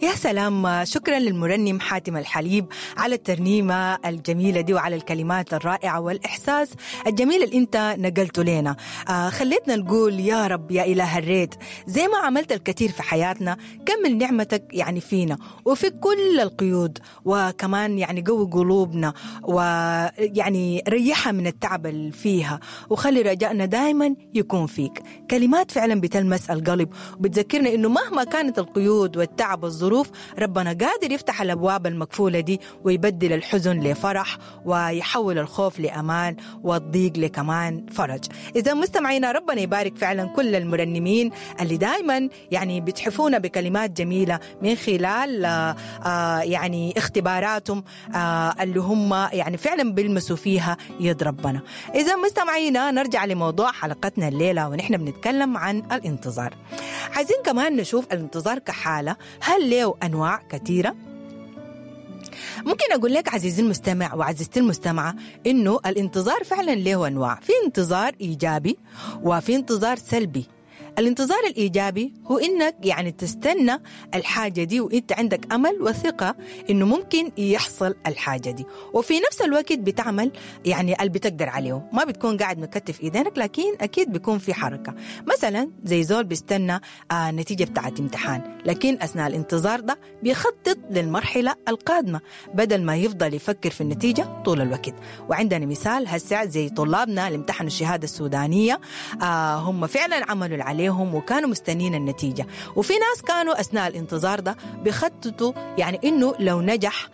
يا سلام، شكرا للمرنم حاتم الحليب على الترنيمة الجميلة دي وعلى الكلمات الرائعة والإحساس الجميل اللي انت نقلته لنا. خليتنا نقول يا رب يا إله الريت، زي ما عملت الكثير في حياتنا كمل نعمتك يعني فينا وفي كل القيود، وكمان يعني قوي قلوبنا ويعني ريحها من التعب اللي فيها، وخلي رجائنا دائما يكون فيك. كلمات فعلا بتلمس القلب وبتذكرنا انه مهما كانت القيود والتعب والظروف ربنا قادر يفتح الابواب المقفولة دي ويبدل الحزن لفرح ويحول الخوف لامان والضيق لكمان فرج. اذا مستمعينا ربنا يبارك فعلا كل المرنمين اللي دائما يعني بتحفونا بكلمات جميلة من خلال يعني اختباراتهم اللي هم يعني فعلا بيلمسوا فيها يد ربنا. اذا مستمعينا نرجع لموضوع حلقتنا الليلة ونحن بنتكلم عن الانتظار. عايزين كمان نشوف الانتظار كحاله، هل له انواع كثيرة؟ ممكن أقول لك عزيزي المستمع وعزيزتي المستمعة إنه الانتظار فعلا له أنواع، في انتظار إيجابي وفي انتظار سلبي. الانتظار الإيجابي هو إنك يعني تستنى الحاجة دي وإنت عندك أمل وثقة إنه ممكن يحصل الحاجة دي، وفي نفس الوقت بتعمل يعني اللي بتقدر عليه، ما بتكون قاعد مكتف إيدينك لكن أكيد بيكون في حركة. مثلا زي زول بيستنى نتيجة بتاعت امتحان، لكن أثناء الانتظار ده بيخطط للمرحلة القادمة بدل ما يفضل يفكر في النتيجة طول الوقت. وعندنا مثال هسه زي طلابنا اللي امتحنوا الشهادة السودانية، هم فعلا عملوا اللي عليهم وكانوا مستنين النتيجة، وفي ناس كانوا أثناء الانتظار ده بيخططوا يعني إنه لو نجح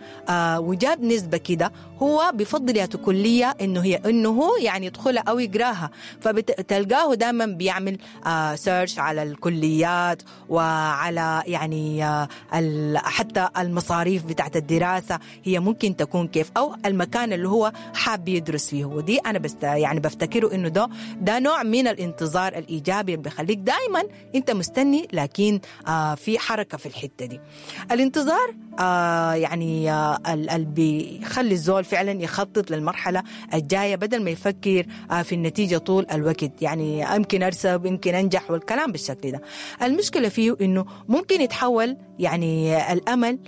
وجاب نسبة كده هو بفضل ياتو كلية إنه هي إنه هو يعني يدخلها أو يقراها، فبتلقاه دائما بيعمل سيرش على الكليات وعلى يعني حتى المصاريف بتاعت الدراسة هي ممكن تكون كيف، أو المكان اللي هو حاب يدرس فيه. ودي أنا بس يعني بفتكره إنه ده نوع من الانتظار الإيجابي اللي بيخليك دائما أنت مستني لكن في حركة في الحتة دي. الانتظار يعني اللي بيخلي الزول فعلا يخطط للمرحلة الجاية بدل ما يفكر في النتيجة طول الوقت، يعني يمكن أرسب يمكن أنجح والكلام بالشكل ده. المشكلة فيه إنه ممكن يتحول يعني الأمل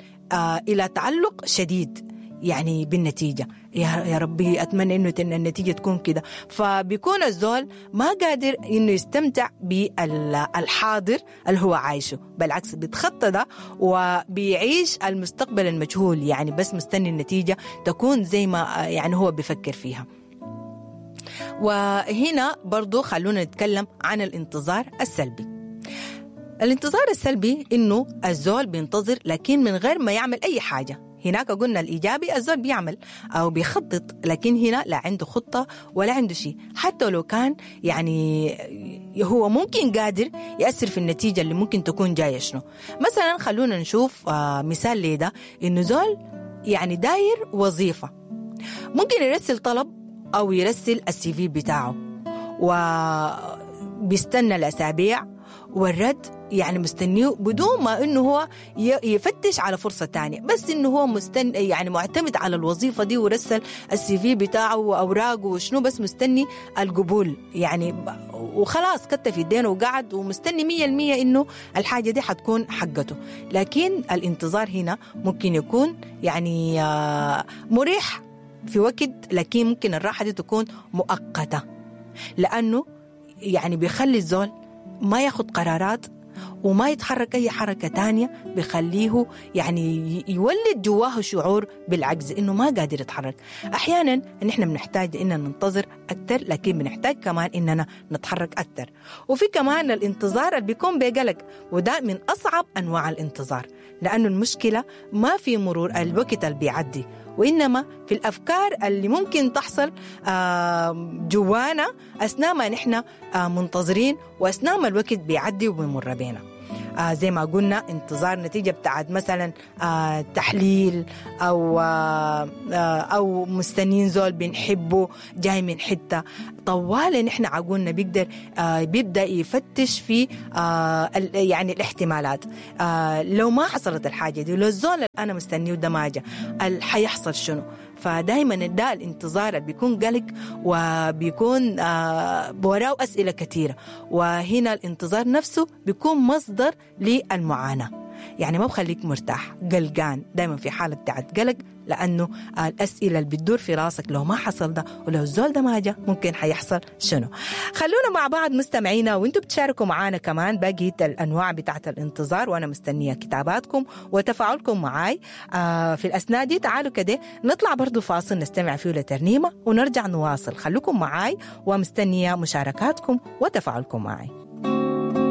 إلى تعلق شديد يعني بالنتيجة، يا ربي أتمنى إنه النتيجة تكون كده، فبيكون الزول ما قادر إنه يستمتع بالحاضر اللي هو عايشه، بالعكس بيتخطى ده وبيعيش المستقبل المجهول، يعني بس مستني النتيجة تكون زي ما يعني هو بيفكر فيها. وهنا برضو خلونا نتكلم عن الانتظار السلبي. الانتظار السلبي إنه الزول بينتظر لكن من غير ما يعمل أي حاجة. هناك قلنا الإيجابي الزول بيعمل أو بيخطط، لكن هنا لا عنده خطة ولا عنده شيء، حتى لو كان يعني هو ممكن قادر يأثر في النتيجة اللي ممكن تكون جاية شنو. مثلا خلونا نشوف مثال لده، إنه زول يعني داير وظيفة، ممكن يرسل طلب أو يرسل السي في بتاعه وبيستنى الأسابيع والرد يعني مستنيه بدون ما انه هو يفتش على فرصة تانية، بس انه هو مستني يعني معتمد على الوظيفة دي ورسل السي في بتاعه واوراقه وشنو، بس مستني القبول يعني وخلاص كتف يدينه وقعد ومستني 100% انه الحاجة دي حتكون حقته. لكن الانتظار هنا ممكن يكون يعني مريح في وقت، لكن ممكن الراحة دي تكون مؤقتة، لأنه يعني بيخلي الزول ما ياخد قرارات وما يتحرك أي حركة تانية، بيخليه يعني يولد جواه شعور بالعجز إنه ما قادر يتحرك. أحيانا نحن بنحتاج إننا ننتظر أكثر، لكن بنحتاج كمان إننا نتحرك أكثر. وفي كمان الانتظار اللي بيكون بقلق، وده من أصعب أنواع الانتظار، لأنه المشكلة ما في مرور الوقت اللي بيعدي، وإنما في الأفكار اللي ممكن تحصل جوانا أثناء ما نحن منتظرين وأثناء ما الوقت بيعدي وبيمر بينا. زي ما قلنا انتظار نتيجة بتاعت مثلا تحليل أو مستنين زول بنحبه جاي من حتة طوال، نحن عقولنا بيقدر بيبدأ يفتش في يعني الاحتمالات. لو ما حصلت الحاجة دي، لو الزول اللي أنا مستنيه ده ما جا، حيحصل شنو؟ فدايما ده الانتظار اللي بيكون قلق وبيكون وراه أسئلة كثيرة، وهنا الانتظار نفسه بيكون مصدر للمعاناة. يعني ما بخليك مرتاح، قلقان دايما في حالة بتاعت قلق، لأنه الأسئلة اللي بتدور في راسك لو ما حصل ده ولو الزول ده ما جا ممكن حيحصل شنو. خلونا مع بعض مستمعينا وانتم بتشاركوا معانا كمان باقي الأنواع بتاعت الانتظار، وأنا مستنية كتاباتكم وتفاعلكم معاي في الأثناء دي. تعالوا كده نطلع برضو فاصل نستمع فيه لترنيمة ونرجع نواصل. خلوكم معاي ومستنية مشاركاتكم وتفاعلكم معي.